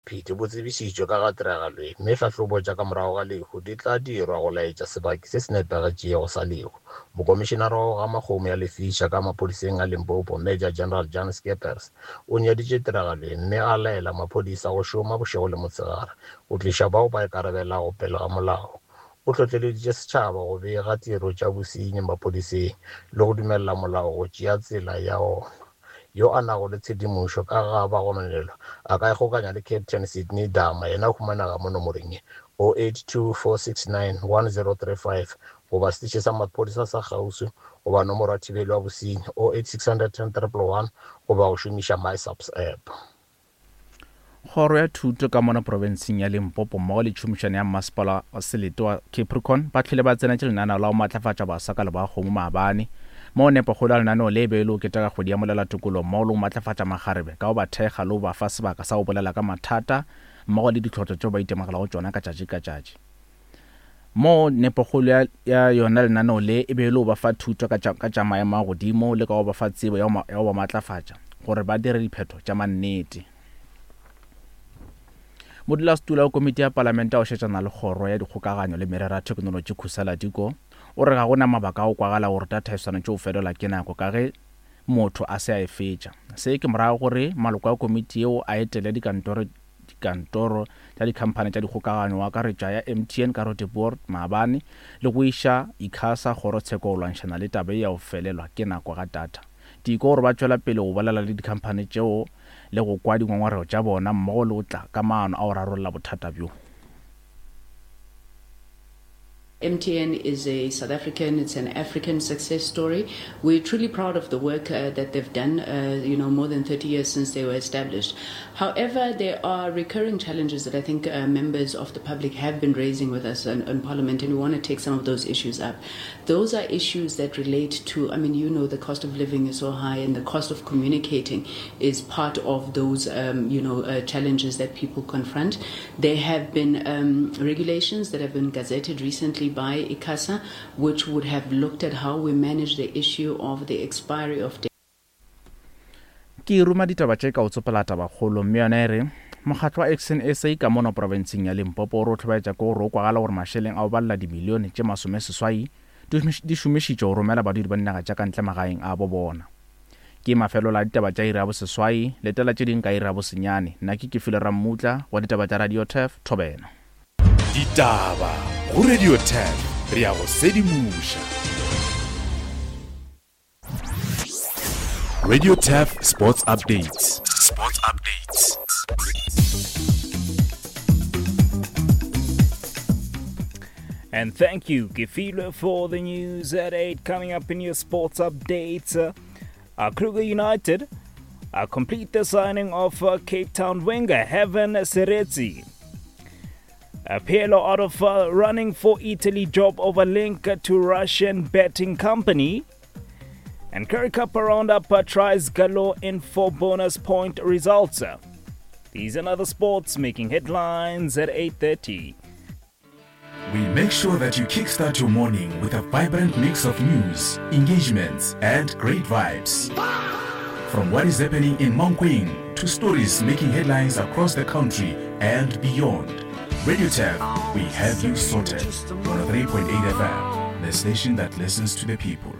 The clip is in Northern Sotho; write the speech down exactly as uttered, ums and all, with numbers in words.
Phiti bo tsebišitšwe ka ga tiragalo ye mme hlahlobo tša ka morago ga lehu di tla dirwa go laetša sebaki se se nepagetšego sa lehu. Mokomišenara wa go gama kgomo ya lefiša ka maphodiseng a Limpopo, Major General Jan Scheepers, o nyaditše tiragalo ye mme a laela maphodisa go šoma bošego le motshegare go tliša bao ba ikarabelago pele ga molao. O hlohleleditše setšhaba go bega tiro tša bosenyi maphodiseng le go dumelela molao go tšea tsela ya ona. Yo a nago le tshedimošo ka ga bagononelwa a ka ikgokanya le Captain Sydney Dama, yena o humanega mo nomoreng ye oh eight two, four six nine, one zero three five goba setiši sa maphodisa sa kgauswi goba nomoro ya thibelo ya bosenyi oh eight six hundred ten triple one goba go šomiša MySAPS app. Kgoro ya Thuto ka mono profenseng ya Limpopo mmogo le tšhomišano ya mmasepala wa selete wa Capricorn ba hlwele ba tsenetše lenaneo la go matlafatša baswa ka leboa-kgomo maabane. Moo nepokgolo ya lenaneo le e be e le go keteka kgwedi ya molelatokolo mmogo le go matlafatša makgarebe ka go ba thekga le go ba fa sebaka sa go bolela ka mathata mmogo le ditlhotlo tšeo ba itemogelago tšona ka tšatši ka tšatši. Moo nepokgolo ya, ya yona lenaneo le e be e le go ba fa thuto ka tša, ka tša maemo a godimo le ka go ba fa tsebo ya go, ya go ba matlafatša gore ba dire diphetho tša mannete. Modulasetulo wa komiti ya palamente ya go šetšana le kgoro ya dikgokaganyo le merero ya theknolotši Khusela Diko o re ga go na mabaka a go kwagala gore data e swanetše go felelwa ke nako ka ge motho a se a e fetša. Se ke morago gore maloko a komiti yeo a etele dikantoro dikantoro tša dikhamphani tša dikgokaganyo go akaretša ya M T N ka Roodepoort maabane le go iša ICASA kgorotsheko go lwantšhana le taba ye ya go felelwa ke nako ga data. Diko gore ba tšwela pele go bolela le dikhamphani tšeo le go kwa dingongorego tša bona mmogo le go tla ka maano a go rarolla bothata bjo. M T N is a South African, it's an African success story. We're truly proud of the work, uh, that they've done, uh, you know, more than thirty years since they were established. However, there are recurring challenges that I think, uh, members of the public have been raising with us in, in Parliament, and we wanna take some of those issues up. Those are issues that relate to, I mean, you know, the cost of living is so high, and the cost of communicating is part of those, um, you know, uh, challenges that people confront. There have been, um, regulations that have been gazetted recently by ICASA, which would have looked at how we manage the issue of the expiry of data. Ke ruma ditaba tše ka o tsopela tabakgolo, mme yona e re mokgatlo wa Action S A ka mono profenseng ya Limpopo o re o hlobaetša ke gore o kwagala gore mašeleng a o balela dimilione tše masomeseswai di šomišitšwe go romela badudi ba dinaga tša ka ntle magaeng a bo bona. Ke mafelelo a ditaba tša iri ya boseswai, letela tše ding ka iri ya bosenyane. Nna ke Kefile Rammutla wa ditaba tša Radio Turf, Thobela. Ditaba go Radio Turf, re ya go sedimoša. Radio Turf Sports Updates. Sports Updates. And thank you, Kefilwe, for the news at eight. Coming up in your sports updates, uh, uh, Kruger United, uh, complete the signing of, uh, Cape Town winger Heaven Seretse. Uh, Pirlo out of, uh, running for Italy job over link to Russian betting company. And Currie Cup roundup, uh, tries galore in four bonus point results. These and other sports making headlines at eight thirty. We make sure that you kickstart your morning with a vibrant mix of news, engagements, and great vibes. From what is happening in Mankweng to stories making headlines across the country and beyond. Radio Turf, we have you sorted. one oh three point eight F M, the station that listens to the people.